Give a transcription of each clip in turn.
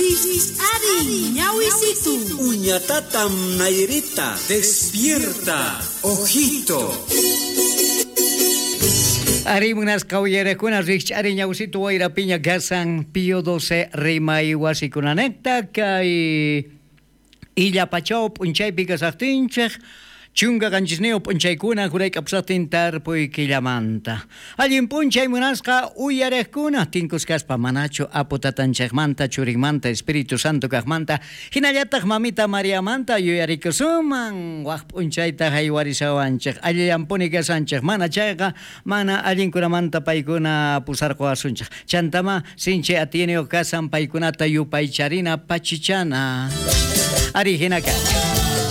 Rikch'ariy ñawisitu. Uñatatam Nairita. Despierta, ojito. Ari munasqa uyarakuna rikch'ari ñawsitu wayra piña kasan Pío 12 rimay wasikunanekta kay Illapachaw p'unchaypi kasaqtinchik 17 p'unchaykuna jurayk'apusaqtin tarpuy killamanta. Allin p'unchay munasqa uyariqkuna tinkuskaspa manachu apu tatanchikmanta churinmanta Espíritu Santo kaqmanta hinallataq mamita Mariamanta yuyarikusunman waq p'unchayta haywarishawanchik allillanpuni kasanchik mana chayqa mana allinkunamanta paykuna pusarquwasunchik chantama sinchi atiyniyuq kasan paykunata yupaycharina pachichana. Ari hinaka.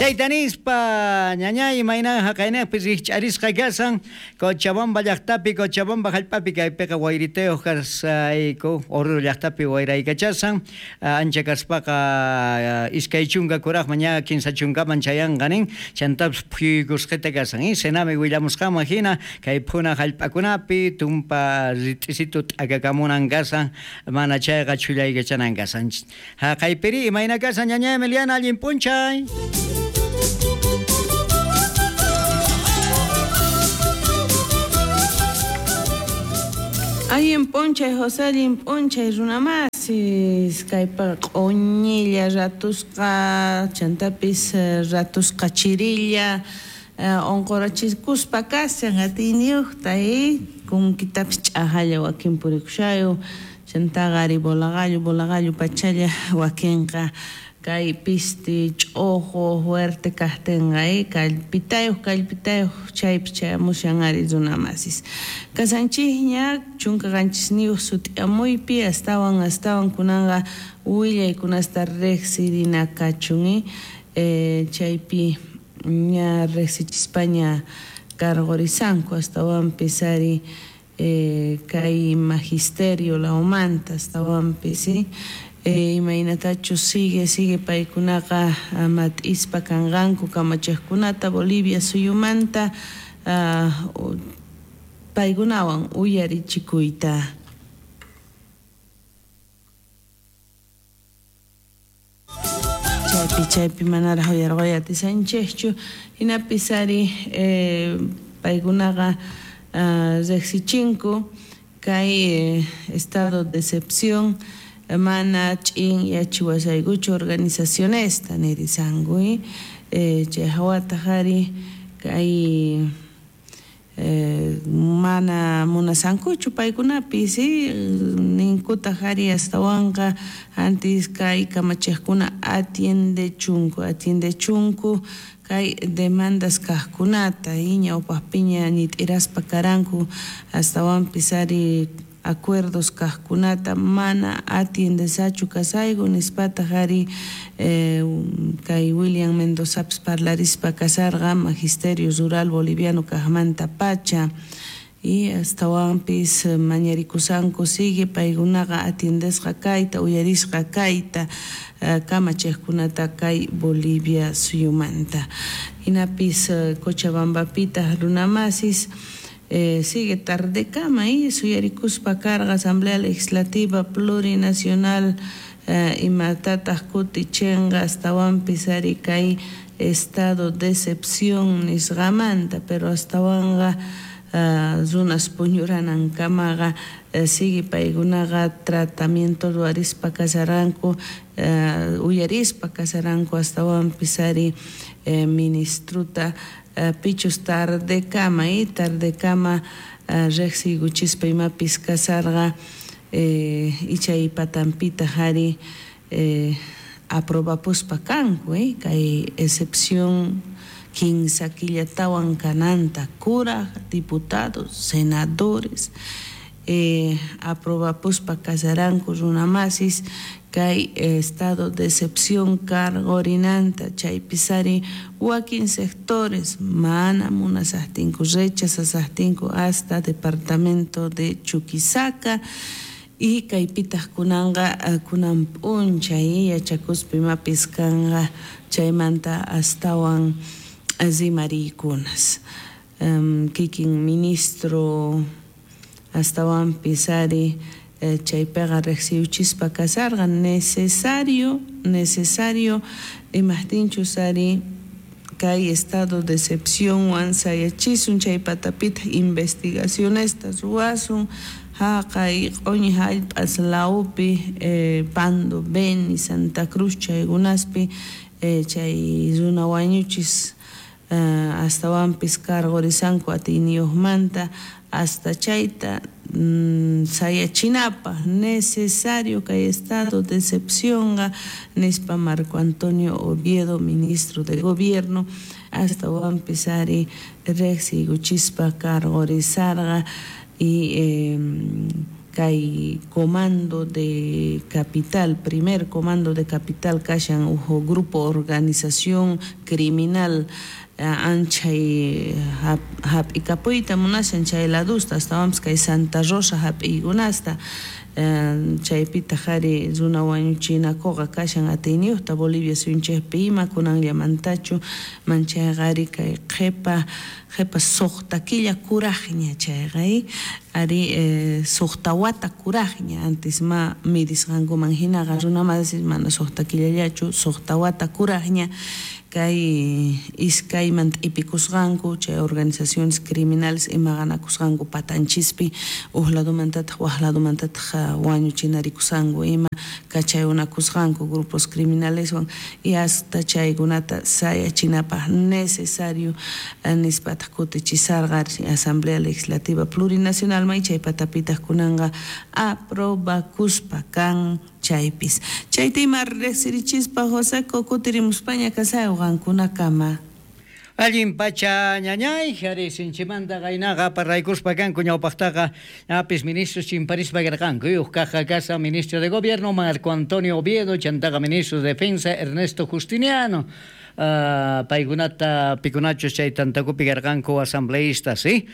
Chayta nispa ñañay imayna haqaynaqpi rikch'arisqa kasan Cochabamba llaqtapi Cochabamba hallp'api kaypiqa wayritayuq kasayku Oruro llaqtapi wayraykachasan ancha kaspaqa 20 kuraqman ña 30 chayanqa nin chantapis phuyuykusqita kasan Senami willamusqanman hina kay phuna hallp'akunapi tumpa rit'isitu t'akakamunan kasan mana chayqa chhullaykachanan kasan. Haqaypiri imayna kasan ñañay Emiliana allin p'unchay. Allin p'unchay José, allin p'unchay runamasis kaypa q'uñilla ratusqa chantapis ratusqa chirilla unqurachikuspa kashan atiyniyuqta kunkitapis ch'ajalla wakin purikushayu chantaqa ari bolaqallu pachalla wakinqa kay pisti ch'uqu fuerte kaqtinqa kallpitayuq chaypi chayamushan ari runamasis kasanchikña 17 sut'iyamuypi astawan kunanqa willaykunasta riqsirina kachun chaypi ña riqsichispaña cargorisanku astawanpis ari kay magisterio lawmanta astawanpis imaynatachu sigue paykunaqa mat'ispa kanqanku kamachiqkunata Bolivia suyumanta paykunawan uyarichikuyta. Chaypi manaraq uyarquy atisanchikchu hinapis ari paykunaqa riqsichinku kay estado de excepción mana ch'in yachiwasaykuchu organizacionesta nirisanku chay hawataq ari kay mana munasankuchu paykunapis ninkutaq ari astawanqa antis kay kamachiqkuna atiendechunku kay demandas kaqkunata ñawpaqpiña ñit'iraspa karanku astawanpis ari acuerdos kaqkunata mana atiendesachu kasayku nispataq ari kay William Mendozapis parlarispa kasarqa Magisterio Rural Boliviano kaqmanta pacha y astawanpis mañarikusanku sigue paykunaqa atiendesqa kayta uyarisqa kayta kamachiqkunata kay Bolivia suyumanta hinapis Cochabambapitaq runamasis sigue tardekama suyarikuspa karqa Asamblea Legislativa Plurinacional imatataq kutichinqa astawanpis ari kay estado de excepción nisqamanta pero astawanqa runas puñuranankamaqa sigue paykunaqa tratamiento ruwarispa kasaranku uyarispa kasaranku astawanpis ari ministruta pichus tardekama riqsiykuchispa imapis kasarqa ichay patanpitaq ari aprobapuspa kanku kay excepción 15 killatawan kananta kuraq diputados, senadores aprobapuspa kasaranku runamasis kay estado de excepción cargorinanta chaypis ari wakin sectores mana munasaqtinku rechazasaqtinku hasta departamento de Chuquisaca y kaypitaq kunanqa kunan p'unchay yachakuspa imapis kanqa chaymanta astawan rimariykunas kikin ministro astawanpis ari Chaypiqa riqsiyuchispa kasarqa necesario imaqtinchus ari kay estado de excepcionwan sayachisun chay patapitaq investigacionesta ruwasun haqay q'uñi hallp'as lawpi Pando, Beni, Santa Cruz chaykunaspi chay runa wañuchis astawanpis cargorisanku atiyniyuqmanta hasta chayta sayachinapaq necesario kay estado de excepcionqa nispa Marco Antonio Oviedo, ministro de gobierno, astawanpis ari riqsiykuchispa cargorizarqa y kay comando de capital, primer comando de capital kashan uj grupo organización criminal anchay hap'ikapuyta munashan chay ladusta astawanpis kay Santa Rosa hap'iykunasta chaypitaq ari runa wañuchinakuqa kashan atiyniyuqta Bolivia suyunchikpi ima kunanllamantachu manchayqa ari kay qhipa suqta killa kuraqña chayqa ari suqta wata kuraqña antes ma midisqankuman hinaqa runa masis mana suqta killallachu suqta wata kuraqña kay iskayman t'ipikusqanku chay organizaciones criminales imaqanakusqanku patanchispi uj ladomantataq waj ladomantataq wañuchinarikusqanku ima kachayunakusqanku grupos criminaleswan y hasta chaykunata sayachinapaq necesario nispataq kutichisarqa Asamblea Legislativa Plurinacional may chay patapitaq kunanqa aprobakuspa kan chaypis chayta ima riqsirichispa Joseco kutirimuspaña kasay qankunakama. Allin pacha ñañay, ari sinchimanta qaynaqa parlaykuspa kanku ñawpaqtaqa ñapis ministros chimparispa karqanku uj kaja casa ministro de gobierno Marco Antonio Oviedo, chantaqa ministro de defensa Ernesto Justiniano. Paykunata pikunachus chay tantakupi karqanku asambleístas, ¿sí?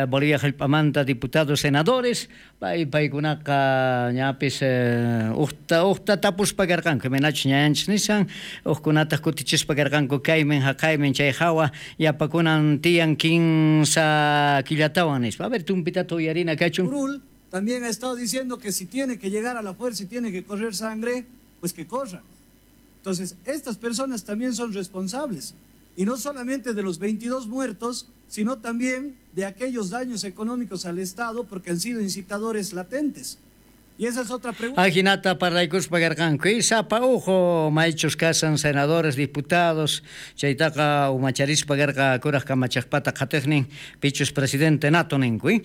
Bolivia hallp'amanta diputados, senadores, paykunaqa ñapis uqta tapuspa karqanku, imaynachus ñañanchis nisan, uqkunataq kutichispa karqanku kaymin haqaymin chay hawa yapakunan tiyan 15 killatawan nispa. A ver, tumpitata uyarina kachun. Curul también ha estado diciendo que si tiene que llegar a la fuerza y tiene que correr sangre, pues que corra. Entonces, estas personas también son responsables, y no solamente de los 22 muertos, sino también de aquellos daños económicos al Estado, porque han sido incitadores latentes. Y esa es otra pregunta. Ajinata parlaykuspa karqanku y sapa ujo maychus kasan senadores, diputados, chaytaqa umacharispa karqa kuraq kamachaqpata qhatiqnin pichus presidente nato ninku,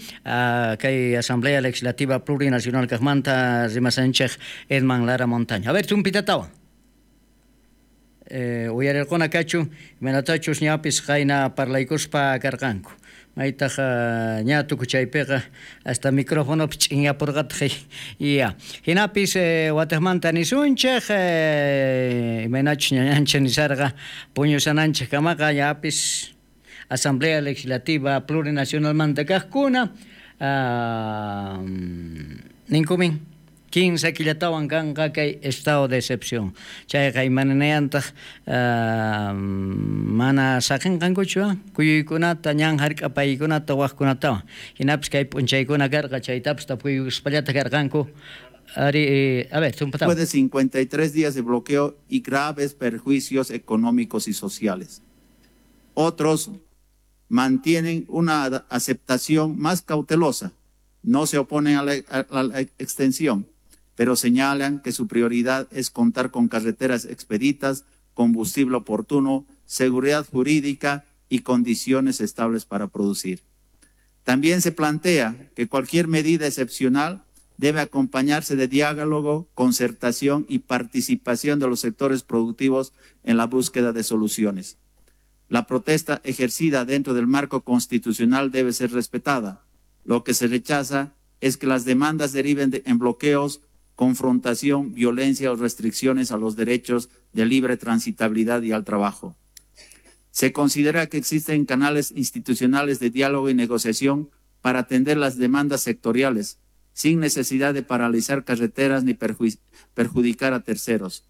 kay Asamblea Legislativa Plurinacional kaqmanta rimasanchej Edman Lara Montaño. A ver, tumpitatawan. Uyarirquna kachun imaynatachus ñapis qayna parlaykuspa karqanku maytaq ña tukuchaypiqa hasta micrófonopi ch'inyapurqataq ya hinapis wataqmanta nisunchej imaynachus ñañanchej nisarqa puñusananchej kamaqa ñapis Asamblea Legislativa Plurinacionalmanta kaqkuna ninkumin 15 killatawan kanqa kay estado de excepción. Chayqa imananayantaq mana saqinqankuchu kuyuykunata ñan hark'apaykunata waqkunatawan. Hinapis kay p'unchaykuna karqa chaytapas tapuykuspallata karqanku. Ari, a ver, después de 53 días de bloqueo y graves perjuicios económicos y sociales. Otros mantienen una aceptación más cautelosa. No se oponen a la extensión, pero señalan que su prioridad es contar con carreteras expeditas, combustible oportuno, seguridad jurídica y condiciones estables para producir. También se plantea que cualquier medida excepcional debe acompañarse de diálogo, concertación y participación de los sectores productivos en la búsqueda de soluciones. La protesta ejercida dentro del marco constitucional debe ser respetada. Lo que se rechaza es que las demandas deriven en bloqueos, confrontación, violencia o restricciones a los derechos de libre transitabilidad y al trabajo. Se considera que existen canales institucionales de diálogo y negociación para atender las demandas sectoriales, sin necesidad de paralizar carreteras ni perjudicar a terceros.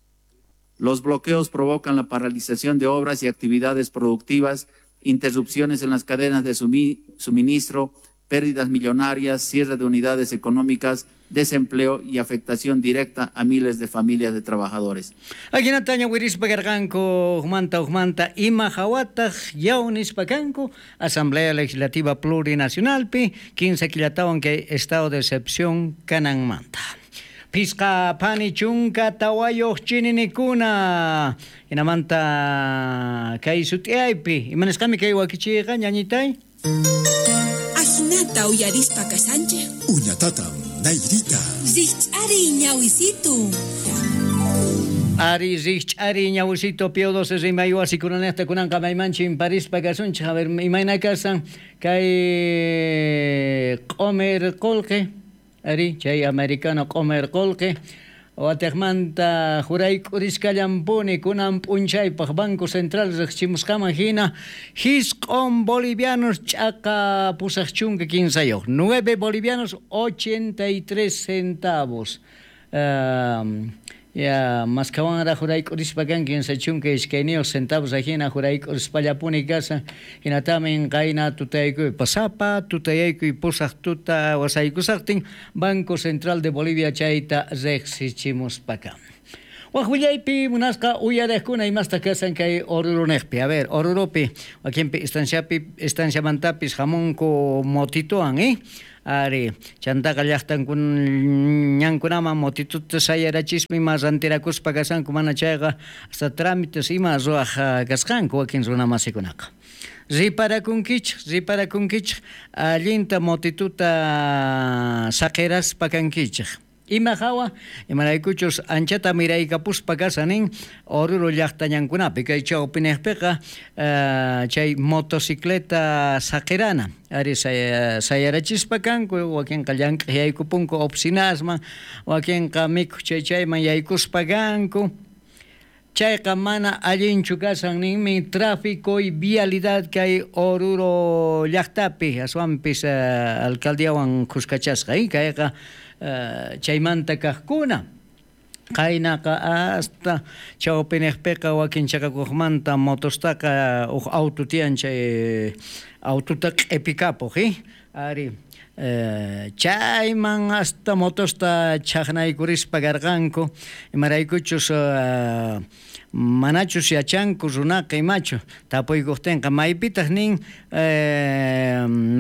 Los bloqueos provocan la paralización de obras y actividades productivas, interrupciones en las cadenas de suministro, pérdidas millonarias, cierre de unidades económicas desempleo y afectación directa a miles de familias de trabajadores. Ajinata ñawirispa karqanku ujmanta ujmanta ima hawataq yaw nispa kanku Asamblea Legislativa Plurinacionalpi 15 killatawan kay estado de excepción kananmanta. Pisqa phani chunka tawayuq chininikuna hinamanta kay sut'iaypi imanasqami kay wakichiyqa ñañitay. Ajinata uyarispa kasanchej. Uñatatam Nairita. Rikch'ariy ñawisitu. Ari rikch'ariy ñawisito Pío XII rimay wasikunanejta kunanqa maymanchin parispa kasunchej. A ver, imayna kasan kay q'omer qullqi, ari chay americano q'omer qullqi watejmanta jurayk'urisqallampuni kunan p'unchaypaq Banco Central riqchimusqaman hina jisq'on bolivianos ch'aqa 83 9 bolivianos 83 centavos. Ya maskawanraq jurayk'urispa kan 32 centavos ajina jurayk'urispallapuni kasan hinatamin qayna tutaykuy pasapa tutayaykuy pusaq tuta wasaykusaqtin Banco Central de Bolivia chayta riqsichimuspaka. Waj willaypi munasqa uyariqkuna imasta kasan kay Orurunejpi. A ver, Orurupi wakinpi estanciapi estanciamantapis hamunku motituan, Ari, chantaqa llaqtankunaman motituta sayarachispa ima rantirakuspa kasanku mana chayqa hasta trámites ima ruwaq kasqanku wakin runamasikunaqa. Riparakunkichik allinta motituta saqiraspa kankichik. Ima hawa, imaraykuchus anchata miraykapuspa kasanin Oruro llaqtañankunapi kay chawpinejpiqa chay motocicleta saqirana ari sayarachispa kanku wakinqa llank'aq yaykupunku oficinasman wakinqa mikhuq chay chayman yaykuspa kanku. Chayqa mana allinchu kasan ninmi tráfico y vialidad kay Oruro llaqtapi aswanpis alcaldiawan khuskachasqa kayqa chaymanta kaqkuna qaynaqa hasta chawpinejpiqa wakin chaqakuqmanta motostaqa uj auto tiyan chay autota q'ipikapuq ari chayman hasta motosta chaqnaykurispa karqanku imaraykuchus manachus yachanku runaqa imachu tapuykuqtinqa maypitaq nin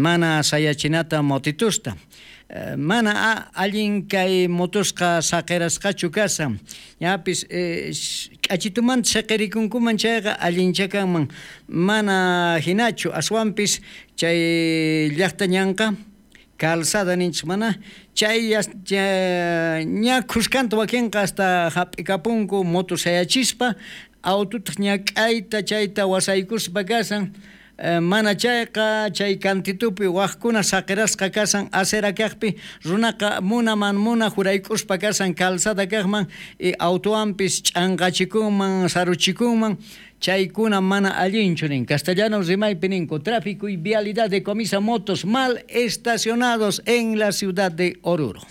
mana sayachinata motitusta mana allin kay motosqa saqirasqachu kasan ñapis k'achitumanta saqirikunkuman chayqa allincha kanman mana hinachu aswanpis chay llaqta ñanqa calzada ninchik mana chay ña khuskanta wakinqa hasta hap'ikapunku moto sayachispa autotaq ñak'ayta chayta wasaykuspa kasan mana chayqa chay kantitupi waqkuna saqirasqa kasan acera kaqpi runaqa munaman muna jurayk'uspa kasan calzada kaqman y autowanpis ch'anqachikunman saruchikunman chaykuna mana allinchu nin castellano rimaypi ninku tráfico y vialidad decomisa motos mal estacionados en la ciudad de Oruro.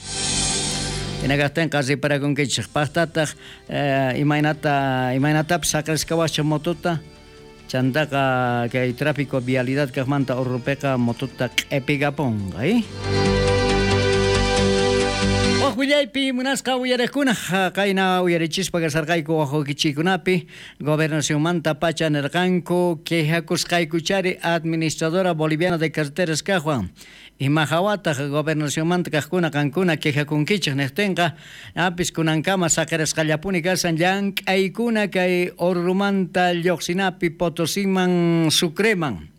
Hinakaqtinqa riparakunkichik paqtataq imaynatapis saqirasqawascha motota chantaqa kay tráfico vialidad kaqmanta Orurupiqa motota q'ipikapunqa Waj willaypi munasqa uyariqkuna qayna uyarichispa kasarqayku wajwakichikunapi gobernacionmanta pacha nirqanku quejakusqaykuchari administradora boliviana de carreteras kaqwan ima hawataq gobernacionmanta kaqkuna qankuna quejakunkichik niqtinqa apis kunankama saqirasqallapuni kasan llank'aykuna kay Orurumanta lluqsinapi Potosiman Sucreman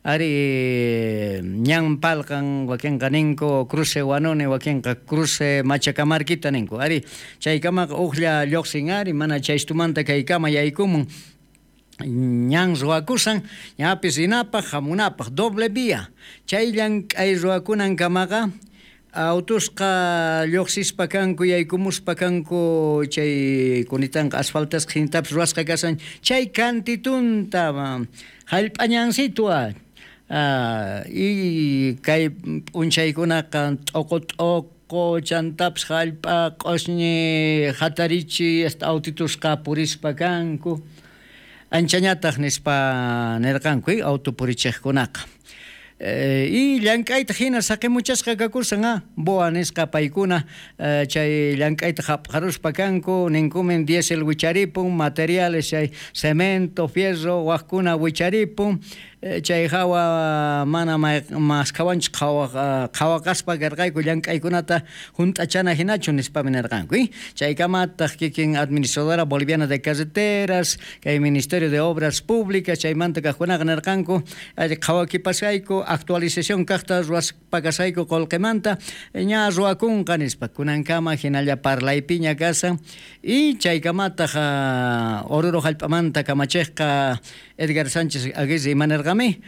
ari ñan palqan wakinqa ninku cruce Guanone wakinqa cruce Machacamarquita ninku ari chaykamaqa uqlla lluqsin ari mana chaystumanta kaykama yaykumun ñan ruwakusan ñapis rinapaq hamunapaq doble vía chay llank'ay ruwakunankamaqa autusqa lluqsispa kanku yaykumuspa kanku chay kunitanqa asfaltasqa hinatapis ruwasqa kasan chay kantitunta hallp'añansitwa y kay p'unchaykunaqa t'uqu t'uqu chantapis hallp'a q'usñi hatarichi hasta autitusqa purispa kanku anchañataq nispa nirqanku auto purichiqkunaqa. Y llank'ayta hina saqimuchasqa kakusan boa nisqa paykuna chay llank'ayta hap'aruspa kanku ninkumin diésel wicharipun materiales chay cemento, fierro wajkuna wicharipun chay hawa mana maskhawanchis qhawaqaspa karqayku llank'aykunata hunt'achana hinachu nispami nirqanku. Chaykamataq kikin administradora boliviana de carreteras kay Ministerio de Obras Públicas chaymanta kaqkunaqa nirqanku qhawakipasqayku actualización kaqta ruwaspa kasqayku qullqimanta ña ruwakunqa nispa kunankama hinalla parlaypiña kasan y chaykamataq Oruro hallp'amanta kamachiqqa Edgar Sánchez Aguirre imanirqami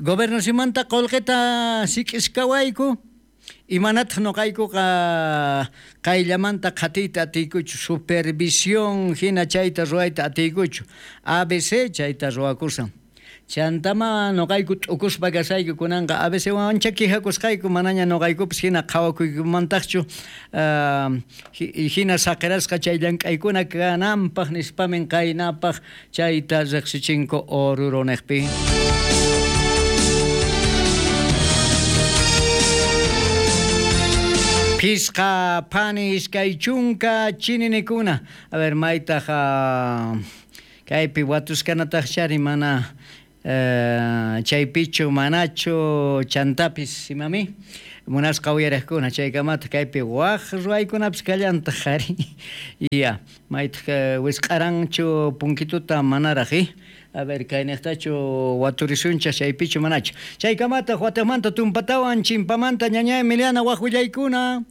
gobernacionmanta qullqita sik'iskawayku imanataq nuqaykuqa qayllamanta qhatiyta atiykuchu supervisión hina chayta ruwayta atiykuchu ABC chayta ruwakusan chantama nuqayku t'ukuspa kasayku kunanqa ABC ancha quejakusqayku manaña nuqaykupis hina qhawakuykumantaqchu hina saqirasqa chay llank'aykuna kananpaq nispamin qaynapaq chayta riqsichinku Oruro niqpi. Pisqa phani iskay chunka chininikuna. A ver, maytaq kaypi watuskanataq chari mana chaypichu manachu chantapis imami munasqa uyariqkuna chaykamata kaypi waj ruwaykunapis kallantaq ari ya maytaq wisq'aranchu punkituta manaraq a ver kayniqtachu waturisunchaq chaypichu manachu chaykamataq watamanta tumpatawan chimpamanta ñaña Emiliana waj willaykuna.